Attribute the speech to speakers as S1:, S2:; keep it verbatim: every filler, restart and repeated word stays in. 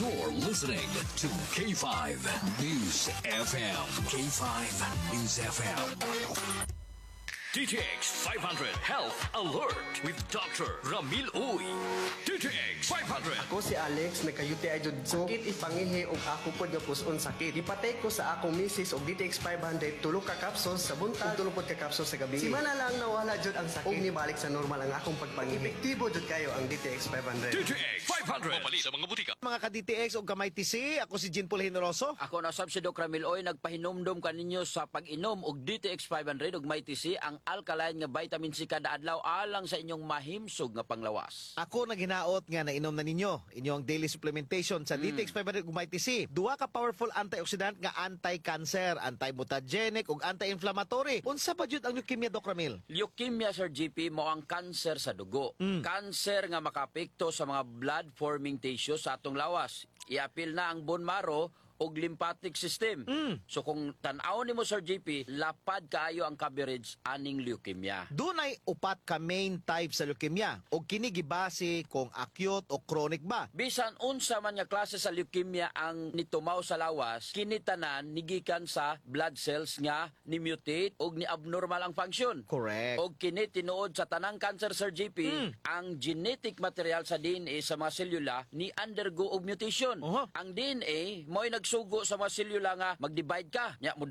S1: You're listening to K five News F M. K five News F M. D T X five hundred Health Alert with Doctor Ramil Uy. D T X five hundred.
S2: Ako si Alex, nagka-U T I jud ko. Sakit ipangihi og ako pod nga puson sakit. Gipatake ko sa akong misis og D T X five hundred, tulo ka capsules sa buntag, tulo pod ka capsules sa gabi. Simana lang nawala jud ang sakit. Ug nibalik sa normal ang akong pagpangihi. Epektibo jud kayo ang D T X five hundred.
S1: D T X five hundred. Mabali sa mga butika.
S3: Mga ka-D T X o ka-M Y T C, ako si Jean Paul Generoso.
S4: Ako na sab si Doc Ramil Oy, nagpahinumdom kaninyo sa pag-inom og D T X five hundred ug Mighty C, ang alkaline nga vitamin C kada adlaw alang sa inyong mahimsog nga panglawas.
S3: Ako naghinaot nga nainom na ninyo inyong daily supplementation sa D T X five hundred ug Mighty C. Duha ka powerful antioxidant nga anti-cancer, anti-mutagenic ug anti-inflammatory. Unsa pa jud ang leukemia, Doc Ramil?
S4: Leukemia, Sir G P, mao ang cancer sa dugo. Cancer nga makaapekto sa mga blood-forming tissues sa atong lawas. Iapil na ang bone marrow ug lymphatic system. So kung tan-aw nimo, Sir G P, lapad kaayo ang coverage aning leukemia.
S3: Dunay upat ka main type sa leukemia ug kini gibase kung acute o chronic ba.
S4: Bisan unsa man nga klase sa leukemia ang nitumaw sa lawas, kini tanan nigikan sa blood cells nga ni-mutate og ni-abnormal ang function.
S3: Correct.
S4: Og kini tinuod sa tanang cancer, Sir G P, ang genetic material sa D N A sa mga selula ni undergo og mutation.
S3: Oho.
S4: Ang D N A mo'y nagsugo sa mga selula nga mag-divide ka. Nya mo